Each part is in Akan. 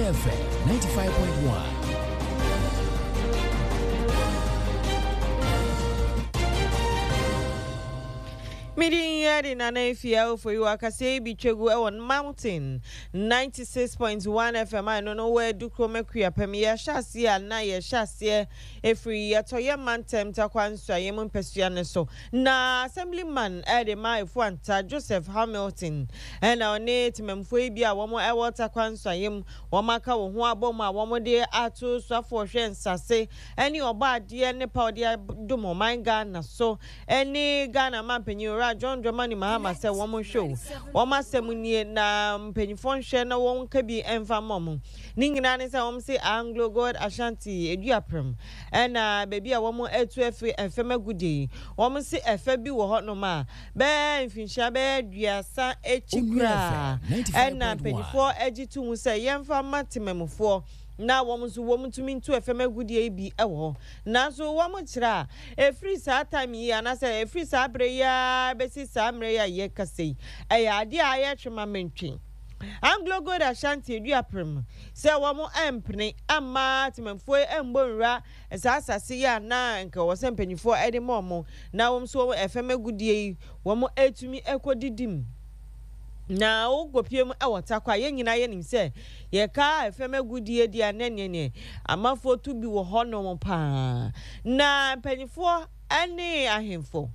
Onua FM 95.1. Me din yɛ de Nana Afia Ofori akaseɛ yi bi twa gu wɔ Mountain 96.1 FM a ɛno no wɔ Adukrom Akuapem. Yɛhyɛ aseɛ a na yɛhyɛ aseɛ ɛfiri Yɛtɔyɛ mantam Tarkwa Nsuaeɛ mu mpasua no so. Na Assemblyman de ma Efuanta Joseph Hamilton na ɔne temammufoɔ yi bi a wɔn wɔ Tarkwa Nsuaeɛ mu wɔn aka wɔn ho abɔ mu a wɔn de ato soafoɔ hwɛ nsase ne ɔbɔ adeɛ ne pa ɔde adom ɔman Ghana so ne Ghana manpanyin Owura John Dramani Mahama sɛ wɔn nhwɛ o, wɔn asɛm nie na mpanyinfoɔ nhwɛ na wɔn nka bi mfa mma wɔn. Ne nyinaa ne sɛ wɔn se Anglo Gold Ashanti Eduaprem ɛna baabi a wɔn atu afiri ɛfam agudeɛ yi. Wɔn se ɛfɛ bi wɔ hɔ nom a bɛyɛ mfinhyia bɛyɛ 30 akyi koraa ɛna mpanyinfoɔ agye to mu sɛ yɛmfa mma temamufoɔ na wɔn nso wɔn ntumi ntu ɛfam agudeɛ yi bi wɔ hɔ. Nanso wɔn kyerɛ a, ɛfiri saa time yi anaasɛ ɛfiri saa berɛ yi ara bɛsi saa mmerɛ yi a yɛrekasa yi, ɛyɛ adeɛ a ayɛ twe ma mentwe. Anglo Gold Ashanti Aduaprem sɛ wɔn ampene amma temanfoɔ yi ammɔ nwura saa asase yi a na nka ɛwɔ sɛ mpanimfoɔ de ma wɔn na wɔn nso wɔn ɛfam agudeɛ yi wɔn atumi akɔdidi mu. Na wokɔpie mu wɔ Tarkwa a, yɛn nyinaa yɛnim sɛ yɛka fam agudeɛ di a na neɛ neɛ amanfoɔ tu bi wɔ hɔnom paa. Na mpanimfoɔ ne ahemfo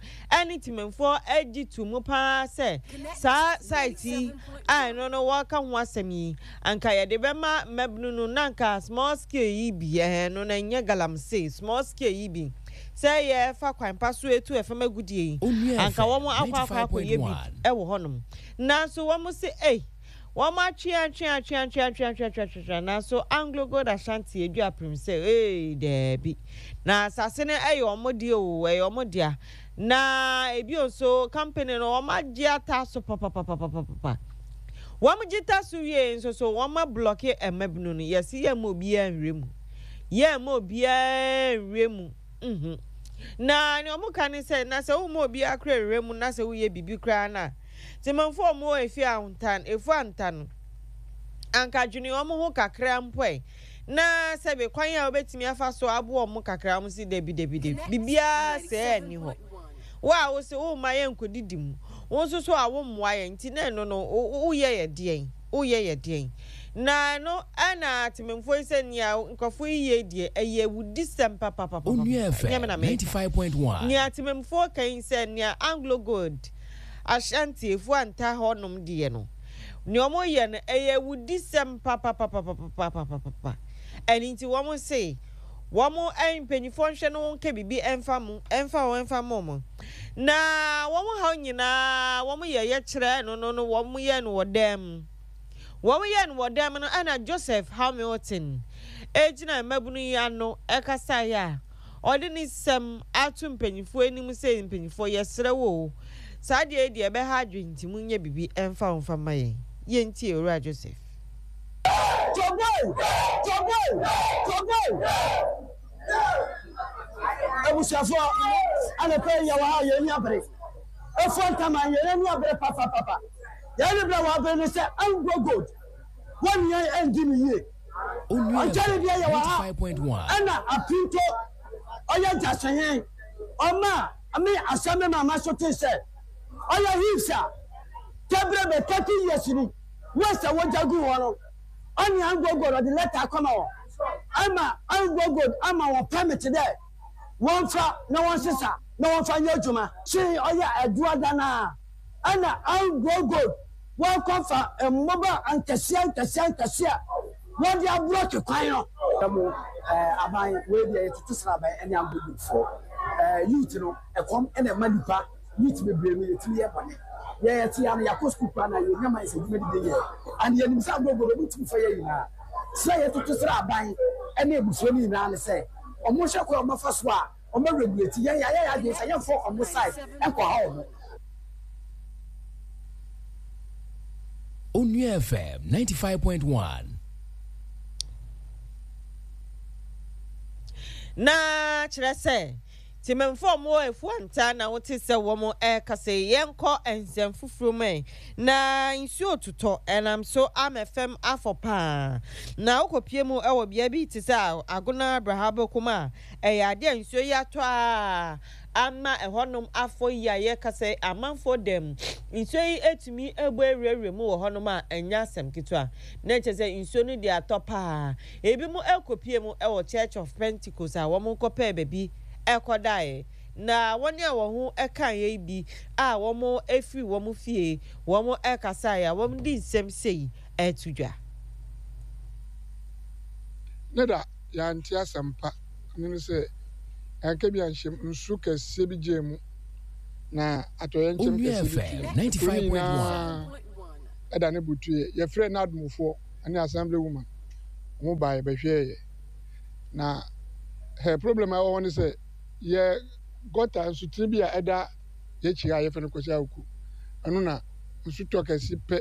ne temanfoɔ gye to mu paa sɛ saa site yi a ɛno no wɔreka ho asɛm yi, anka yɛde bɛma mmabunu no na anka small scale yi bi, ɛhɛn no na ɛnyɛ galamsey, small scale yi bi, sɛ yɛfa kwan pa so etu ɛfam agudeɛ yi, anka wɔn akɔ akɔ akɔyɛ bi wɔ hɔnom. Nanso wɔn se ei, wɔn atwe atwe atwe atwe atwe atwe atwe atwe atwe, nanso Anglo Gold Ashanti adu apem sɛ ee daabi. Na asase no ɛyɛ wɔn deɛ o, ɛyɛ wɔn dea. Na ebio nso company no wɔn agye ata so papapapapapa. Wɔn gye ta so wie nso so wɔn ablɔke mmabunu no, yɛse yɛmma obiara nhwɛ mu. Yɛmma obiara nhwɛ mu. Mhm. Na nea wɔka ne sɛ, na sɛ womma obiara koraa nwura mu na sɛ woyɛ biribi koraa no a, Temanfo a wɔwɔ efi Ahontan, Efuanta no, anka dwene wɔn ho kakra mpo ɛ. Na sɛbe kwan a wobetumi afa so aboa wɔn kakra, wɔn se dabi, dabi, dabi, biribiara sɛɛ nni hɔ. Wo a wose womma yɛnkodidi mu, wo nso so a wommoa yɛn nti na ɛno no, woyɛ yɛ deɛn? Woyɛ yɛ deɛn? Na ɛno na atemmufoɔ yi sɛ nea nkurɔfoɔ yi yɛ deɛ ɛyɛ awudisɛm papapapapa. Onua Ɛnyɛ me na FM meka. 95.1. Nea atemmufoɔ ka yi sɛ nea Anglo Gold Ashanti Efuanta hɔnom deɛ no, nea wɔyɛ no ɛyɛ awudisɛm papapapapapapapa. Ɛno nti wɔn se wɔn mpanyinfoɔ nhwɛ no nka biribi mfa mo mfa wɔn mfa mo wɔn. Na wɔn haw nyinaa wɔn yɛ yɛkyerɛ no no no wɔn yɛ no wɔ dan mu. Wɔn yɛ no wɔ dan mu no ɛna Joseph Hamilton egyina mmabunu yi ano ɛkasaeɛ a ɔde ne nsɛm ato mpanyinfoɔ anim sɛ mpanyinfoɔ yɛsrɛ wo o saa deɛ yi deɛ ɛbɛha adwene nti monyɛ biribi ɛmfa ho mfa mma yɛn. Yɛntie Owura Joseph. Togo! Togo! Togo! Abusuafoɔ, anɔpa yi yɛwɔ ha a yɛn ani abere. Efua Ntaman, yɛn ani abere papapapa. Yɛn ani bere wɔ abere ne sɛ Anglo Gold, wɔne yɛn andi no yie. Onua Ɔnkyɛre FM deɛ yɛwɔ ha 95.1. ɛna Apinto ɔyɛ gyasehene. Ɔma me asɛm me maama so tee sɛ ɔyɛ heaps a kɛbrɛ bɛ 30 years ni waste a wɔgya gu hɔ no ɔne Anglo Gold ɔde lɛta akɔma wɔn ama Anglo Gold ama wɔn permit dɛ wɔmfa na wɔnsesa na wɔmfa nyɛ adwuma. Kyee ɔyɛ Aduada no a ɛna Anglo Gold wɔkɔfa mmoba ankɛseɛ ankɛseɛ ankɛseɛ a wɔde ablɔke kwan no. Mo eh, aban wei deɛ yɛtoto sraban ne Anglo Gold foɔ eh, youth no ɛkɔm ɛna ɛma nipa youth bebree no yɛtumi yɛ bɔne. Yɛ yɛte ya no yɛakɔ sukuu koraa na yɛnya mines adwuma de bi yɛ and yɛnim sɛ Anglo Gold ɔmo ntumi fa yɛ nyinaa. Srɛ yɛtoto srɛ aban ne abusua no nyinaa ne sɛ ɔmo nhwɛ kwan a ɔmo afa so a ɔmo regulate yɛn. Yɛayɛ yɛn adwene sɛ yɛmfa ɔmo side nkɔha ɔmo. Onua FM 95.1. Na kyerɛ sɛ. Temanfoɔ a wɔwɔ Afuantaa na wote sɛ wɔn rekasa yi. Yɛnkɔ nsɛm foforɔ mu ɛ. Na nsuo retotɔ, ɛnam so ama fam afɔ paa. Na wokɔpie mu wɔ bea bi te sɛ Agona Brahabokom a, ɛyɛ adeɛ a nsuo yi atɔ ara ama ɛhɔnom afɔ yi a yɛrekasa yi, amanfoɔ dam. Nsuo yi atumi abu awurawura mu wɔ hɔnom a ɛnyɛ asɛm ketewa. Na kyerɛ sɛ nsuo no deɛ atɔ paa. Ebinom kɔpuee mu wɔ Church of Pentecost a wɔkɔpɛɛ baabi kɔdaeɛ. Na wɔn a wɔn ho kaeɛ yi bi a wɔfiri wɔn fie wɔkasaeɛ a wɔde nsɛm sei reto dwa. Ne da yɛante asɛmpa no ne sɛ yɛanka bi anhyɛ mu, nsu kɛseɛ bi gyee mu na atɔyɛnkyɛm Onua kɛseɛ bi FM tuiɛ. Kuro no 95.1. nyinaa da ne butuiɛ. Yɛfrɛɛ NADMOfoɔ ne Assembly woman, wɔn baeɛ bɛhwɛeɛ. Na hɛ problem a ɛwɔ hɔ ne sɛ yɛ gɔta nsutene bi a ɛda yɛakyi a yɛfrɛ no Kwasi Awuku, ɛno na nsu tɔ kɛse pɛ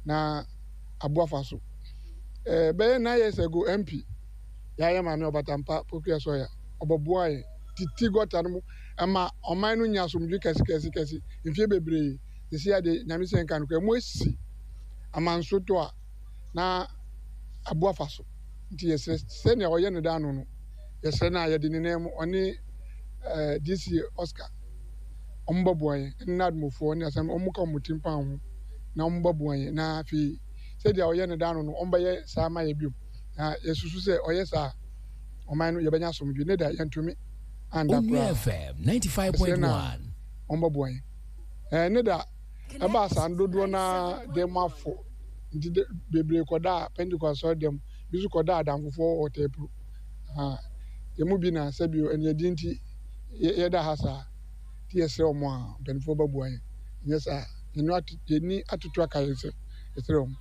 na aboa fa so. Eh, bɛyɛ 9 years ago MP yɛayɛ maame Ɔbatampa Pokuya Sawyer ɔbɛboa yɛn titi gɔta no mu ɛma ɔman no nya asomdwe kɛse kɛse kɛse mfie bebree. Sisi ade Nyame sɛ nka no kora mu asi ama nsu tɔ a na aboa fa so. Nti yɛsrɛ sɛnea ɔyɛ no daa no no, yɛsrɛ no a yɛde ne nan mu ɔne eh, DC Oscar wɔn bɛboa yɛn ɛne n'adomofoɔ ne asɛm wɔn ka wɔn tirim paa ho na wɔn bɛboa yɛn na afei sɛdeɛ ɔyɛ no daa no no wɔn bɛyɛ saa ma yɛ biom na yɛsusu sɛ ɔyɛ saa ɔman no yɛbɛnya asomdwe ne da yɛntumi anda Onua koraa FM yɛsrɛ no a 95.1. wɔn bɛboa yɛn ɛɛ ne da ɛbaa saa no dodoɔ no ara de mo afo nti de bebree kɔdaa Pentecost asɔre dɛm bi nso kɔdaa adamfofoɔ wɔ Tɛpuro ha yɛn mu bi na sɛbio ɛnìyɛdi nti yɛda ha saa nti yɛsrɛ wɔn a mpanimfoɔ bɛboa yɛn nyɛ saa yɛni atoto aka yɛn sɛ yɛsrɛ wɔn.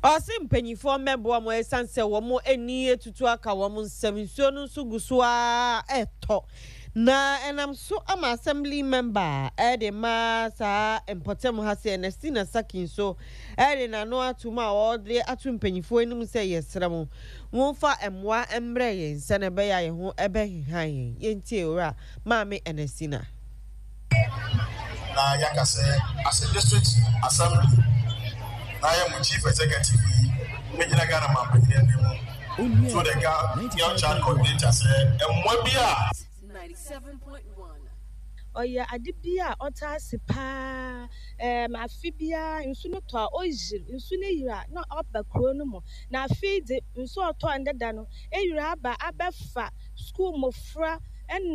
Ɔse mpanyinfoɔ mmɛboa wɔn ɛsiane sɛ wɔn ani atutu aka wɔn nsam. Nsuo no nso gu so ara ɛtɔ na ɛnam so ama assembly member ɛde ma saa mpɔtam ha sɛ Ernestina Saki nso ɛde n'ano ato mu a ɔde ato mpanyinfoɔ anim sɛ yɛsrɛ mo momfa mmoa mmrɛ yɛn sɛnea ɛbɛyɛ a yɛn ho ɛbɛheha yɛn. Yɛntie Owura Maame Ernestina. Na yɛaka sɛ as a district assembly na yɛ mo chief executive yi mɛgyina Ghana mampanyin anim through the girl child coordinator sɛ mmoa bi a Ɔyɛ ade bi a ɔtaa si paa. Erm afe biara nsu no tɔ a oyir, nsu no yir a na ɔba kurow no mu. Na afe yi dze nsu a ɔtɔɔ ndɛ da no eyir aba abɛfa skuul mbofra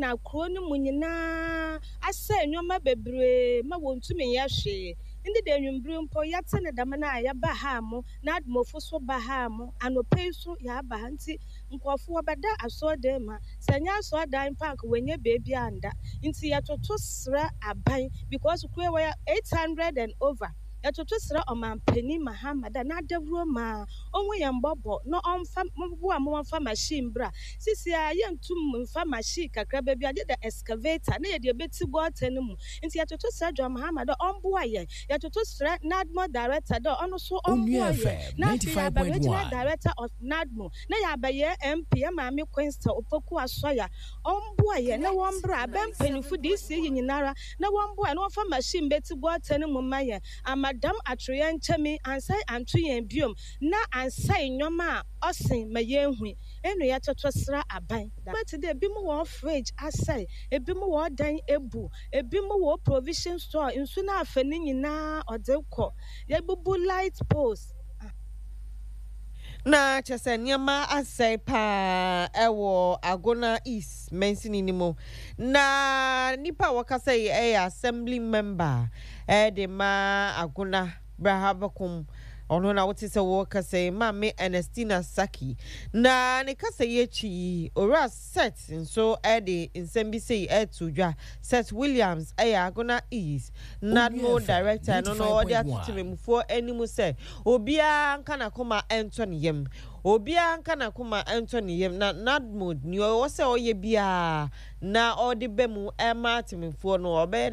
na kurow no mu nyina asɛɛ ndzɛmba beberee ma wonntum nnyɛ hwee. Ndɛ da ewimbir mpo yɛtse no dɛm no a yɛba ha mo na Admofo so ba ha mo, anɔpa yi so yɛaba ha ntsi nkorɔfo wɔbɛda asɔrdan mu ha. Sɛ nnyɛ asɔrdan mpo a anka woennya beebi annda. Ntsi yɛtoto serɛ aban because kuro yi wɔyɛ 800 and over. Yɛtoto serɛ Ɔmanpanin Mahama dɛ n'adawuro ma ɔnhu yɛn mbɔbɔ na ɔmfa mboa ma wɔmfa machine mbra. Sisi a yɛnntum mmfa machine kakraba bi a gyedɛ excavator na yɛde ebetsi gɔta no mu. Ntsi yɛtoto serɛ John Mahama dɛ ɔmboa yɛn. Yɛtoto serɛ NADMO director dɛ ɔno so Onua ɔmboa yɛn. FM Na afei yɛaba Regional 95.1. Director of NADMO na yɛabɛyɛ MP yɛn maame Queensta Opoku Asɔya ɔmboa yɛn na wɔmbra abɛn mpanyimfo DC yi nyinara na wɔmboa yɛn na wɔmfa machine mbetsi gɔta no mu mma yɛn ama dɛm atoyerɛnkyɛm yi annsɛe annto yɛn biom na annsɛe nneɛma a ɔsen ma yeehu eno yɛtoto sra aban. Tse dɛ binom hɔn fridge asɛe, binom hɔn dan ebu, binom hɔn provision store nsu no afa ne nyina ɔdze kɔ, yebubu light poles. Na kyerɛ sɛ nneɛma asɛe paa wɔ Agona East mansini no mu. Na nipa a wɔkasa yi yɛ assembly member de ma Agona Brahabakom. Ɔno na wote sɛ wɔkasa yi, Maame Ernestina Saki. Na ne kasa yi akyi yi, Owura Seth nso de nsɛm bi sei reto dwa. Seth Williams yɛ Agona East Onua NADMO FM Director no na ɔde ato 95.1. temamufoɔ anim sɛ obiara nka n'akoma ntɔ ne yam. Obiara nka n'akoma ntɔ ne yam na NADMO nea ɔwɔ sɛ ɔyɛ biara na ɔde ba mu ma temamufoɔ no ɔbɛyɛ.